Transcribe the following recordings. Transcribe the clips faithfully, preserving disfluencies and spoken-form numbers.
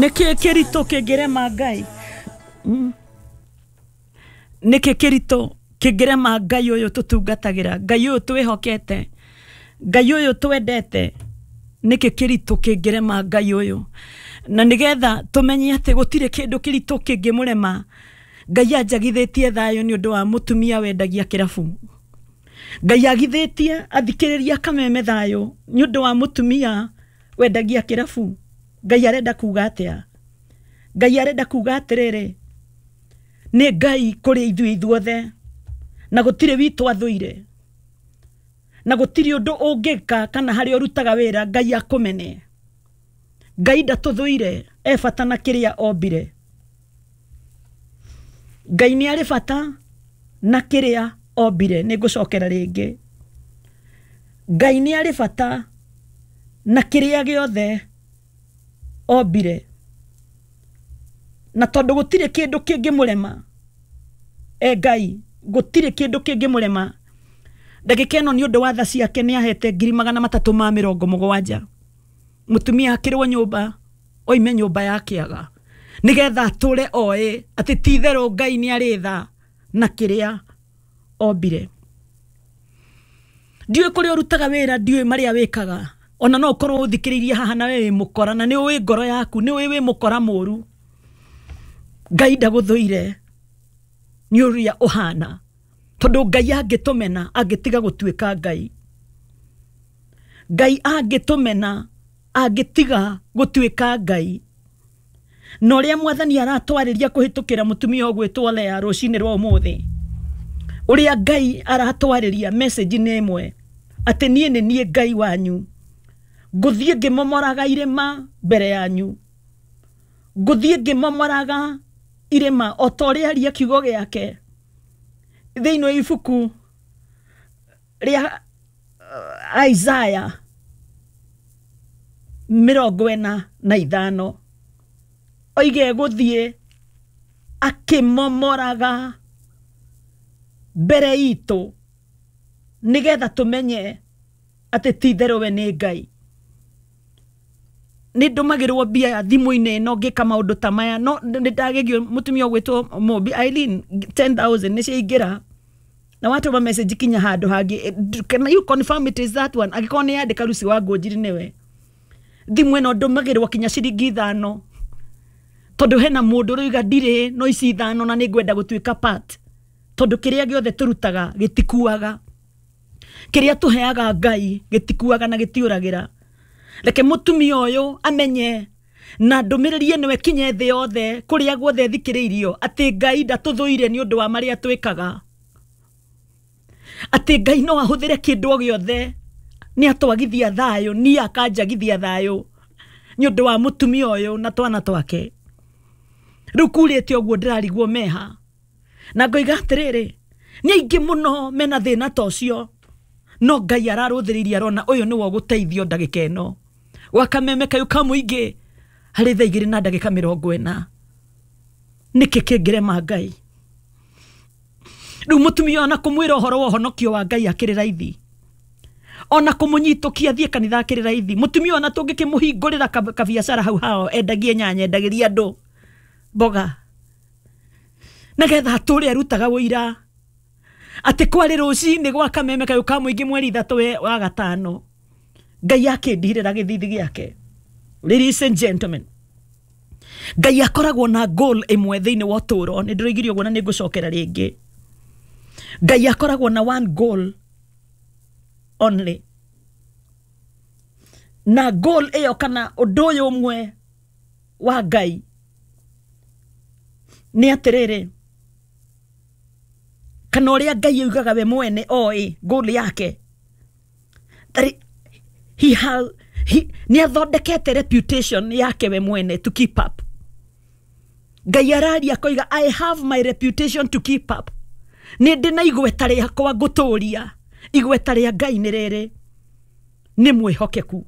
Nĩkĩ kĩritũ kĩngĩrema Ngai? Mm. Nĩkĩ kĩritũ kĩngĩrema Ngai ũyũ tũtungatagĩra, Ngai ũyũ twĩhokete, Ngai ũyũ twendete? Nĩkĩ kĩritũ kĩngĩrema Ngai ũyũ? Na nĩgetha tũmenye atĩ gũtirĩ kĩndũ kĩritũ kĩngĩmũrema, Ngai anjagithĩtie thayũ nĩ ũndũ wa mũtumia wendagia kĩrabu. Ngai agithĩtie athikĩrĩria Kameme thayũ nĩ ũndũ wa mũtumia wendagia kĩrabu. Ngai arenda kuga atĩa? Ngai arenda kuga atĩrĩrĩ, nĩ Ngai kũrĩ ithuĩ ithuothe, na gũtirĩ witũ athũire, na gũtirĩ ũndũ ũngĩka kana harĩa ũrutaga wĩra Ngai akũmene. Ngai ndatũthũire, e bata na kĩrĩa ombire. Ngai nĩ arĩ bata na kĩrĩa ombire. Nĩ ngũcokera rĩngĩ, Ngai nĩ arĩ bata na kĩrĩa gĩothe ombire, na tondũ gũtirĩ kĩndũ kĩngĩmũrema, e Ngai gũtirĩ kĩndũ kĩngĩmũrema. Ndagĩka ĩno nĩ ũndũ wa tha ciake nĩ ahete ngiri magana matatũ ma mĩrongo mũgwanja mũtumia akĩrwo nyũmba oime nyũmba ya kĩaga, nĩgetha atũre oĩ atĩ ti itherũ Ngai nĩ arĩ tha na kĩrĩa ombire. Ndiũĩ kũrĩa ũrutaga wĩra, ndiũĩ marĩa wĩkaga, ona no ũkorwo ũthikĩrĩirie haha na we wĩ mũkora, na nĩ ũĩ ngoro yaku, nĩ ũĩ wĩ mũkora mũru. Ngai ndagũthũire nĩ ũrĩa ũhana, tondũ Ngai angĩtũmena angĩtiga gũtuĩka Ngai. Ngai angĩtũmena angĩtiga gũtuĩka Ngai. Na ũrĩa mwathani aratwarĩria kũhĩtũkĩra mũtumia ũgwĩtwo Lea rũcinĩ rwa ũmũthĩ, ũrĩa Ngai aratwarĩria message nĩ ĩmwe, atĩ niĩ nĩ niĩ Ngai wanyu, ngũthiĩ ngĩmomoraga irĩma mbere yanyu, ngũthiĩ ngĩmomoraga irĩma o ta ũrĩa aria kiugo gĩake thĩinĩ wa ibuku rĩa uh, Isaiah mĩrongo ĩna na ithano, oige gũthiĩ akĩmomoraga mbere itũ nĩgetha tũmenye atĩ ti itherũ we nĩ Ngai. Nĩ ndũmagĩrwo mbia thimũ-inĩ ĩno ngĩka maũndũ ta maya, no nĩ ndagegio mũtumia ũgwĩtwo Mũmbi Eileen ten thousand nĩ ciaingĩra, na watũma message kinya handũ hangĩ, can you confirm it is that one? Angĩkorwo nĩ yandĩka Lucy wa Ngũnjiri nĩwe, thimũ ĩno ndũmagĩrwo kinya ciringi ithano, tondũ hena mũndũ ũroiga ndirĩ no ici ithano na nĩ ngwenda gũtuĩka part, tondũ kĩrĩa gĩothe tũrutaga gĩtikuaga, kĩrĩa tũheaga Ngai gĩtikuaga na gĩtiũragĩra. Reke mũtumia ũyũ amenye na ndũmĩrĩri ĩno ĩkinye thĩ yothe kũrĩa guothe thikĩrĩirio, atĩ Ngai ndatũthũire nĩ ũndũ wa marĩa twĩkaga, atĩ Ngai no ahũthĩre kĩndũ o gĩothe, nĩ atwagithia thayũ, niĩ akanjagithia thayũ nĩ ũndũ wa mũtumia ũyũ na twana twake. Rĩu kurĩte ũguo ndĩrarigwo meha, na ngoiga atĩrĩrĩ, nĩ aingĩ mũno mena thĩna ta ũcio, no Ngai ararũthĩrĩirie arona ũyũ nĩwe ũgũteithio ndagĩka ĩno. Gwa Kameme kayũ ka mũingĩ harĩ thaa igĩrĩ na ndagĩka mĩrongo ĩna, nĩkĩ kĩngĩrema Ngai? Rĩu mũtumia ona kũmwĩra ũhoro wa ũhonokio wa Ngai akĩrĩ raithi, ona kũmũnyitũkia athiĩ kanitha akĩrĩ raithi. Mũtumia ona tũngĩkĩmũhingũrĩra kabiacara hau hao, endagie nyanya, endagĩrie andũ mboga, nĩgetha atũre arutaga ũira atĩ kwarĩ rũcinĩ gwa Kameme kayũ ka mũingĩ mweri ithatũ wa gatano, Ngai akĩndirĩra gĩthithi gĩake. Ladies and gentlemen, Ngai akoragwo na goal ĩmwe thĩinĩ wa ũtũũro. Nĩ ndĩroigire ũguo na nĩ ngũcokera rĩngĩ. Ngai akoragwo na one goal only, na goal ĩyo kana ũndũ ũyũ ũmwe wa Ngai nĩ atĩrĩrĩ, kana ũrĩa Ngai oigaga we mwene oĩ goal yake, that he has, he, nĩ athondekete reputation yake we mwene to keep up. Ngai araria akoiga I have my reputation to keep up, nĩ ndĩ na igweta rĩakwa ngũtũria. Igweta rĩa Ngai nĩ rĩrĩ, nĩ mwĩhokeku.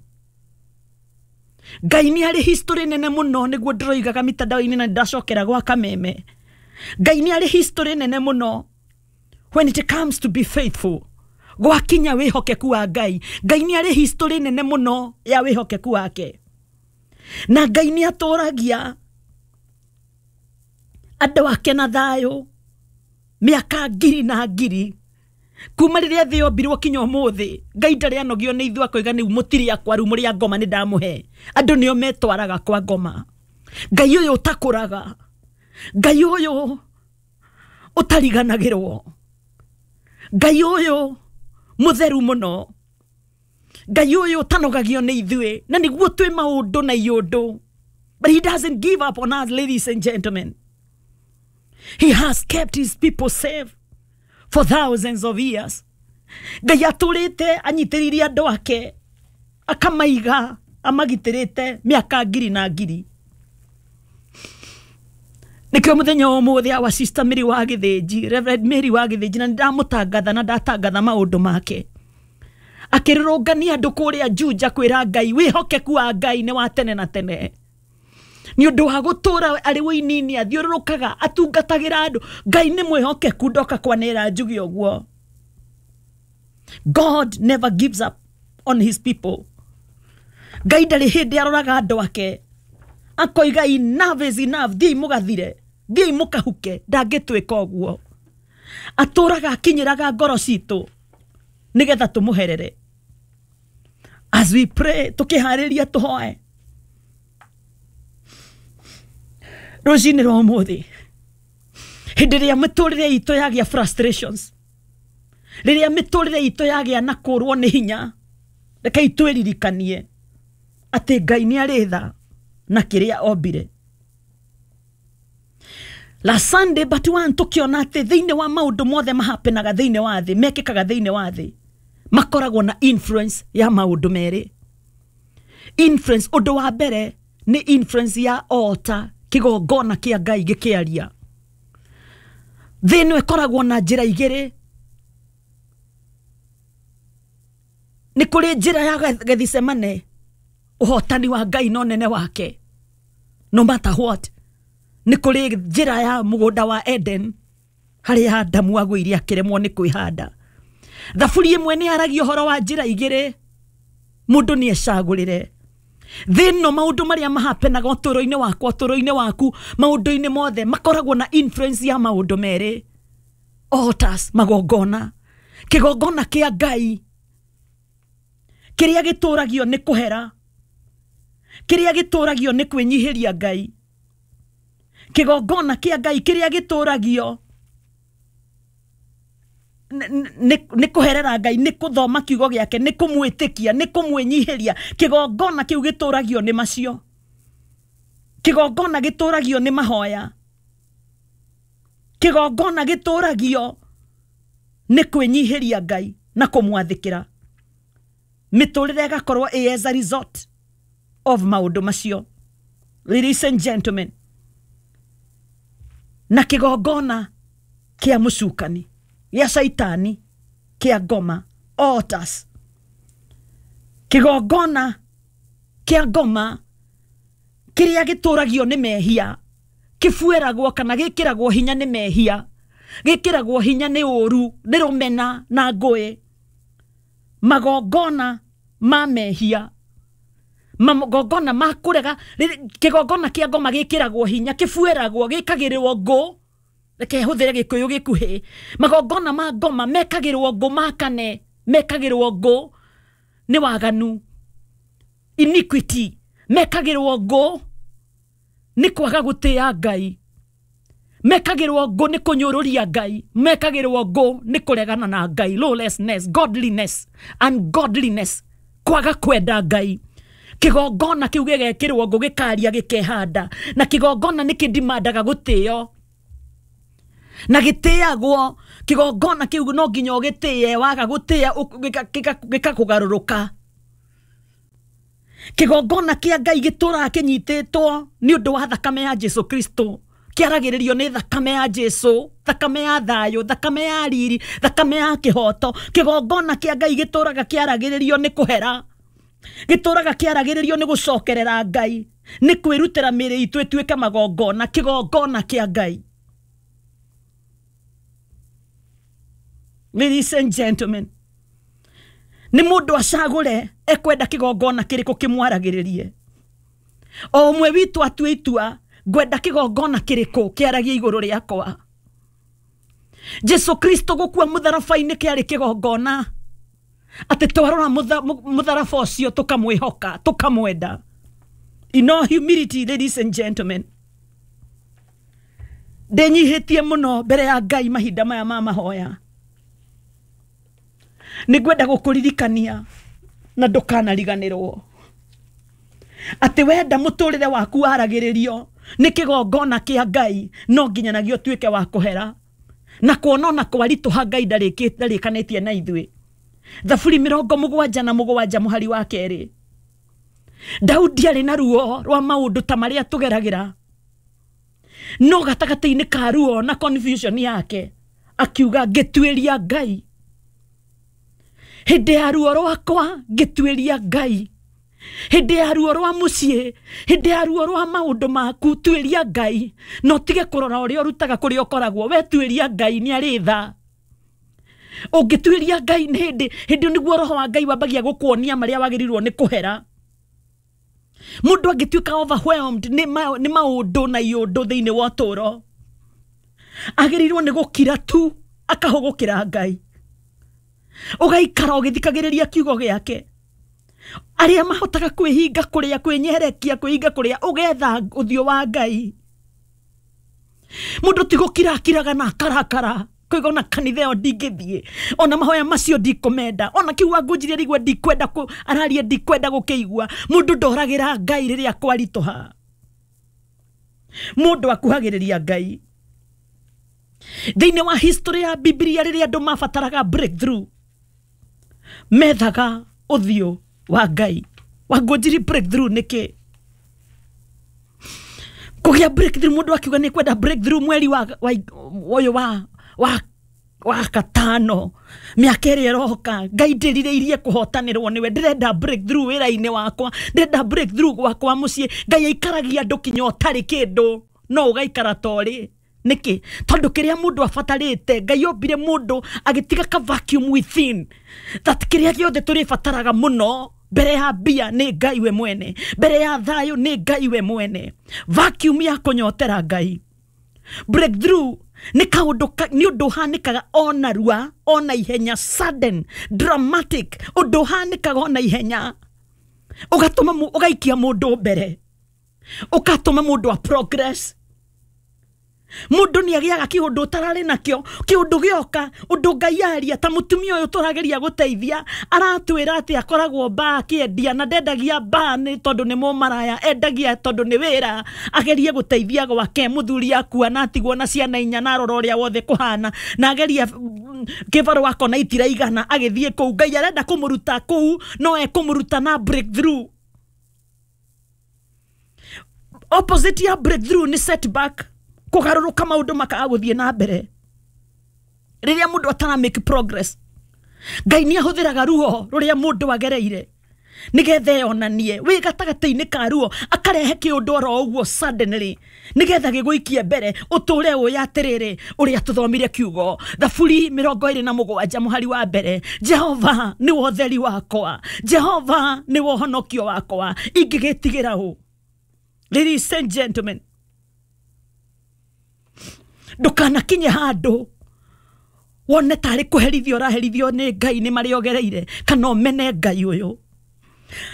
Ngai nĩ arĩ history nene mũno, nĩguo ndĩroigaga mitandao-inĩ na ndacokera gwa Kameme. Ngai nĩ arĩ history nene mũno when it comes to be faithful. Gwakinya wĩhokeku wa Ngai, Ngai nĩ arĩ history nene mũno ya wĩhokeku wake. Na Ngai nĩ atũragia andũ ake na thayũ mĩaka ngiri na ngiri kuma rĩrĩa thĩ yombirwo kinya ũmũthĩ. Ngai ndarĩ anogio nĩ ithuĩ akoiga nĩu mũtirĩ akwa rĩu mũrĩ a ngoma nĩ ndamũhe. Andũ nĩo metwaraga kwa ngoma. Ngai ũyũ ũtakũraga, Ngai ũyũ ũtariganagĩrwo, Ngai ũyũ mũtheru mũno, Ngai ũyũ ũtanogagio nĩ ithuĩ, na nĩguo twĩ maũndũ na iũndũ. But he doesn't give up on us, ladies and gentlemen. He has kept his people safe for thousands of years. Ngai atũrĩte anyitĩrĩire andũ ake akamaiga amagitĩrĩte mĩaka ngiri na ngiri. Nĩkĩo mũthenya wa ũmũthĩ our sister Mary wa Gĩthĩnji, Reverend Mary wa Gĩthĩnji, na nĩndamũtangatha na ndatangatha maũndũ make, akĩrũrũngania andũ kũrĩa Juja kwĩra Ngai wĩhokeku wa Ngai nĩ wa tene na tene. Nĩ ũndũ wa gũtũra arĩ wĩinini athiũrũrũkaga atungatagĩra andũ. Ngai nĩ mwĩhokeku, ndoka kwanĩra njuge ũguo. God never gives up on his people. Ngai ndarĩ hĩndĩ aroraga andũ ake akoiga enough is enough, thiĩi mũgathire, thiĩi mũkahuke. Ndangĩtwĩka ũguo. Atũraga akinyĩraga ngoro citũ nĩgetha tũmũherere. As we pray, tũkĩharĩria tũhoe rũcinĩ rwa ũmũthĩ, hĩndĩ ĩrĩa mĩtũrĩre itũ yagĩa frustrations, rĩrĩa mĩtũrĩre itũ yagĩa na kũrwo nĩ hinya, rekei twĩririkanie atĩ Ngai nĩ arĩ tha na kĩrĩa ombire. La Sunday but one tũkĩona atĩ thĩinĩ wa maũndũ mothe mahapenaga thĩinĩ wa thĩ, mekĩkaga thĩinĩ wa thĩ, makoragwo na influence ya maũndũ merĩ. Influence, ũndũ wa mbere nĩ influence ya altar, kĩgongona kĩa Ngai gĩkĩaria. Thĩ ĩno ĩkoragwo na njĩra igĩrĩ. Nĩ kũrĩ njĩra ya Gethsemane, ũhotani wa Ngai no nene wake, no matter what. Nĩ kũrĩ njĩra ya mũgũnda wa Eden, harĩa Adamu agũire akĩremwo nĩ kwĩhanda. Thaburi ĩmwe nĩ yaragia ũhoro wa njĩra igĩrĩ, mũndũ nĩ ecagũrĩre. Thĩ ĩno maũndũ marĩa mahapenaga ũtũũro-inĩ wakwa, ũtũũro-inĩ waku, maũndũ-inĩ mothe makoragwo na influence ya maũndũ merĩ. Altars, magongona. Kĩgongona kĩa Ngai kĩrĩa gĩtũragio nĩ kũhera, kĩrĩa gĩtũragio nĩ kwĩnyihĩria Ngai. Kĩgongona kĩa Ngai kĩrĩa gĩtũragio nĩ kũherera Ngai, nĩ kũthoma kiugo gĩake, nĩ kũmwĩtĩkia, nĩ kũmwĩnyihĩria. Kĩgongona kĩu gĩtũragio nĩ macio. Kĩgongona gĩtũragio nĩ mahoya. Kĩgongona gĩtũragio nĩ kwĩnyihĩria Ngai na kũmwathĩkĩra. Mĩtũrĩre ĩgakorwo ĩ as a result of maũndũ macio. Ladies and gentlemen, na kĩgongona kĩa mũcukani, gĩa caitani, kĩa ngoma, altars. Kĩgongona kĩa ngoma kĩrĩa gĩtũragio nĩ mehia, kĩbueragwo kana gĩkĩragwo hinya nĩ mehia, gĩkĩragwo hinya nĩ ũru, nĩ rũmena na ngũĩ. Magongona ma mehia, magongona ma kũrega, kĩgongona kĩa ngoma gĩkĩragwo hinya, kĩbueragwo, gĩkagĩrĩrwo ngũ. Reke hũthĩre gĩkũyũ gĩkuhĩ. Magongona ma ngoma mekagĩrwo ngũ makane, mekagĩrwo ngũ nĩ waganu, iniquity, mekagĩrwo ngũ nĩ kwaga gũtĩĩa Ngai, mekagĩrwo ngũ nĩ kũnyũrũria Ngai, mekagĩrwo ngũ nĩ kũregana na Ngai, lawlessness, godliness, ungodliness, kwaga kwenda Ngai. Kĩgongona kĩu gĩgekĩrwo ngũ gĩkaria gĩkehanda, na kĩgongona nĩ kĩndimandaga gũtĩo na gĩtĩagwo. Kĩgongona kĩu no nginya ũgĩtĩe, waga gũtĩĩa gĩkakũgarũrũka. Kĩgongona kĩa Ngai gĩtũraga kĩnyitĩtwo nĩ ũndũ wa thakame ya Jesu Kristo, kĩaragĩrĩrio nĩ thakame ya Jesu, thakame ya thayũ, thakame ya riri, thakame ya kĩhoto. Kĩgongona kĩa Ngai gĩtũraga kĩaragĩrĩrio nĩ kũhera, gĩtũraga kĩaragĩrĩrio nĩ gũcokerera Ngai, nĩ kwĩrutĩra mĩĩrĩ itũ ĩtuĩke magongona. Kĩgongona kĩa Ngai. Ladies and gentlemen, nĩ mũndũ acagũre ekwenda kĩgongona kĩrĩkũ kĩmwaragĩrĩrie. O ũmwe witũ atue itua, ngwenda kĩgongona kĩrĩkũ kĩaragia igũrũ rĩakwa. Jesu Kristo gũkua mũtharaba-inĩ kĩarĩ kĩgongona, atĩ twarora mũtharaba ũcio tũkamwĩhoka, tũkamwenda. In all humility, ladies and gentlemen, ndĩnyihĩtie mũno mbere ya Ngai mahinda maya ma mahoya. Nĩngwenda gũkũririkania na ndũkanariganĩrwo atĩ wenda mũtũrĩre waku waragĩrĩrio nĩ kĩgongona kĩa Ngai, no nginyanagio ũtuĩke wa kũhera na kuona ona kwaritũha Ngai ndarĩkanĩtie na ithuĩ. Thaburi mĩrongo mũgwanja na mũgwanja mũhari wa kerĩ, Daudi arĩ na ruo rwa maũndũ ta marĩa tũgeragĩra, no gatagatĩ-inĩ ka ruo na confusion yake akiuga, ngĩtuĩria Ngai hĩndĩ ya ruo rwakwa, ngĩtuĩria Ngai hĩndĩ ya ruo rwa mũciĩ, hĩndĩ ya ruo rwa maũndũ maku, tuĩria Ngai, na ũtige kũrora ũrĩa ũrutaga kũrĩa ũkoragwo. We tuĩria Ngai, nĩ arĩ tha. Ũngĩtuĩria Ngai nĩ hĩndĩ hĩndĩ nĩguo roho wa Ngai wambagia gũkuonia marĩa wagĩrĩirwo nĩ kũhera. Mũndũ angĩtuĩka overwhelmed nĩ maũndũ na iũndũ thĩinĩ wa ũtũũro, agĩrĩirwo nĩ gũkira tu akahũgũkĩra Ngai, ũgaikara ũgĩthikagĩrĩria kiugo gĩake. Arĩa mahotaga kwĩhinga kũrĩa, kwĩnyerekia, kwĩhinga kũrĩa, ũgetha ũthiũ wa Ngai. Mũndũ ti gũkira akiraga na akarakara, koiga ona kanitha ĩyo ndingĩthiĩ, ona mahoya macio ndikũmenda, ona kiugo angũnjirie rigua ndikwenda araria, ndikwenda gũkĩigua. Mũndũ ndoragĩra Ngai rĩrĩa kwaritũha, mũndũ akuhagĩrĩria Ngai. Thĩinĩ wa history ya Biblia, rĩrĩa andũ mabataraga breakthrough, methaga ũthiũ wa Ngai. Wangũnjiri breakthrough nĩkĩ? Kũgĩa breakthrough, mũndũ akiuga nĩ kwenda breakthrough mweri wa ũyũ wa wa wa katano, mĩaka ĩrĩa ĩroka, Ngai ndĩrirĩirie kũhotanĩrwo nĩwe, ndĩrenda breakthrough wĩra-inĩ wakwa, ndĩrenda breakthrough gwakwa mũciĩ. Ngai aikaragia andũ kinya ũtarĩ kĩndũ, no ũgaikara ta ũrĩ. Nĩkĩ? Tondũ kĩrĩa mũndũ abatarĩte, Ngai ombire mũndũ agĩtiga ka vacuum within, that kĩrĩa gĩothe tũrĩbataraga mũno mbere ya mbia nĩ Ngai we mwene, mbere ya thayũ nĩ Ngai we mwene. Vacuum ya kũnyotera Ngai. Breakthrough nĩ kaũndũ, nĩ ũndũ ũhanĩkaga ona rua, ona ihenya, sudden, dramatic, ũndũ ũhanĩkaga ona ihenya, ũgatũma ũgaikia mũndũ mbere, ũgatũma mũndũ a progress. Mũndũ nĩ agĩaga kĩũndũ ũtararĩ nakĩo, kĩũndũ gĩoka, ũndũ Ngai aria. Ta mũtumia ũyũ tũrageria gũteithia aratwĩra atĩ akoragwo mbaa akĩendia, na ndendagia mbaa nĩ tondũ nĩ mũmaraya, endagia tondũ nĩ wĩra, agerie gũteithia gwake. Mũthuri akua na atigwo na ciana inya, na arora ũrĩa wothe kũhana, na ageria kĩbarũa akona itiraigana, agĩthiĩ kũu. Ngai arenda kũmũruta kũu, no ekũmũruta na breakthrough. Opposite ya breakthrough nĩ setback, kũgarũrũka maũndũ makaga gũthiĩ na mbere. Rĩrĩa mũndũ atara make progress, Ngai nĩ ahũthĩraga ruo rũrĩa mũndũ agereire nĩgetha eyonanie wĩ gatagatĩ-inĩ ka ruo, akarehe kĩũndũ oro ũguo suddenly nĩgetha gĩgũikie mbere, ũtũre ũĩ atĩrĩrĩ ũrĩa tũthomire kiugo. Thaburi mĩrongo ĩrĩ na mũgwanja mũhari wa mbere, Jehova nĩwe ũtheri wakwa, Jehova nĩwe ũhonokio wakwa, ingĩgĩtigĩra ũ? Ladies and gentlemen, ndũkanakinye handũ wone tarĩ kũherithio ũraherithio nĩ Ngai nĩ marĩa ũgereire, kana ũmene Ngai ũyũ.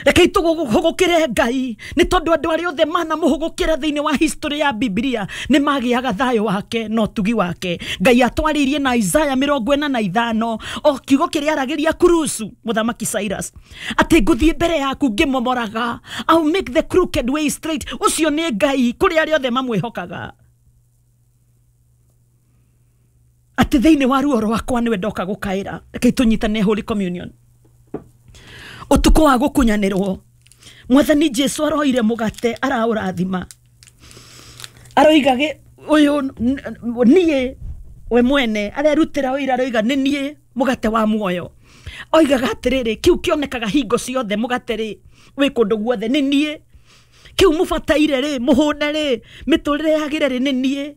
Rekei tũhũgũkĩre Ngai, nĩ tondũ andũ arĩa othe manamũhũgũkĩra thĩinĩ wa history ya Biblia nĩ magĩaga thayũ wake na ũtugi wake. Ngai atwarĩirie na Isaya mĩrongo ĩna na ithano, o kiugo kĩrĩa aragĩria Kurusu mũthamaki Cyrus, atĩ ngũthiĩ mbere yaku ngĩmomoraga, I'll make the crooked way straight. Ũcio nĩ Ngai kũrĩ arĩa othe mamwĩhokaga. Atĩ thĩinĩ wa ruo rwakwa nĩwe ndoka gũkaĩra. Rekei tũnyitane Holy Communion. Ũtukũ wa gũkunyanĩrwo, Mwathani Jesu aroire mũgate araũrathima, aroiga ũyũ niĩ we mwene, arerutĩra ũira, aroiga nĩ niĩ mũgate wa muoyo. Oigaga atĩrĩrĩ, kĩu kĩonekaga hingo ciothe mũgate rĩ wĩ kũndũ guothe, nĩ niĩ. Kĩu mũbataire rĩ, mũhũne rĩ, mĩtũrĩre yagĩre rĩ, nĩ niĩ.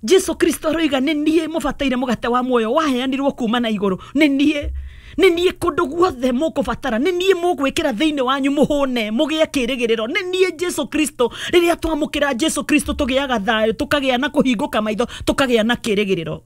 Jesu Kristo aroiga nĩ niĩ mũbataire mũgate wa muoyo waheanirwo kuma na igũrũ, nĩ niĩ. Nĩ niĩ kũndũ guothe mũkũbatara, nĩ niĩ mũgwĩkĩra thĩinĩ wanyu mũhũne mũgĩe kĩrĩgĩrĩro. Nĩ niĩ Jesu Kristo. Rĩrĩa twamũkĩra Jesu Kristo tũgĩaga thayũ, tũkagĩa na kũhingũka maitho, tũkagĩa na kĩrĩgĩrĩro.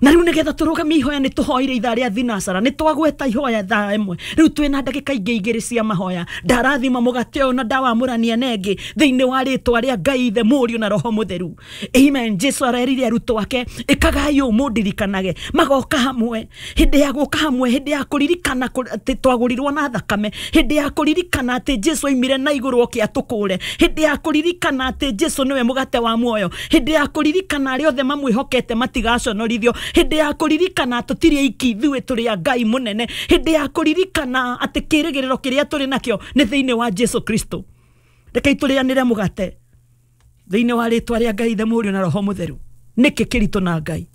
Na rĩu nĩgetha tũrũgamie ihoya nĩ tũhoire ithaa rĩa thinacara, nĩ twagweta ihoya thaa ĩmwe, rĩu twĩna ndagĩka ingĩ igĩrĩ cia mahoya. Ndarathima mũgate ũyũ na ndawamũrania na ĩngĩ thĩinĩ wa rĩtwa rĩa Ngai Ithe, Mũriũ na Roho Mũtheru. Amen. Jesu arerire arutwo ake, ĩkagai ũũ mũndirikanage. Magoka hamwe, hĩndĩ ya gũka hamwe, hĩndĩ ya kũririkana atĩ twagũrirwo na thakame, hĩndĩ ya kũririkana atĩ Jesu oimire na igũrũ oke atũkũre, hĩndĩ ya kũririkana atĩ Jesu nĩwe mũgate wa muoyo, hĩndĩ ya kũririkana arĩa othe mamwĩhokete matigaconorithio, hĩndĩ ya kũririkana tũtirĩ aiki ithuĩ tũrĩ a Ngai mũnene, hĩndĩ ya kũririkana atĩ kĩrĩgĩrĩro kĩrĩa tũrĩ nakĩo nĩ thĩinĩ wa Jesu Kristo. Rekei tũrĩanĩre mũgate thĩinĩ wa rĩtwa rĩa Ngai Ithe, Mũriũ na Roho Mũtheru. Nĩkĩ kĩritũ na Ngai?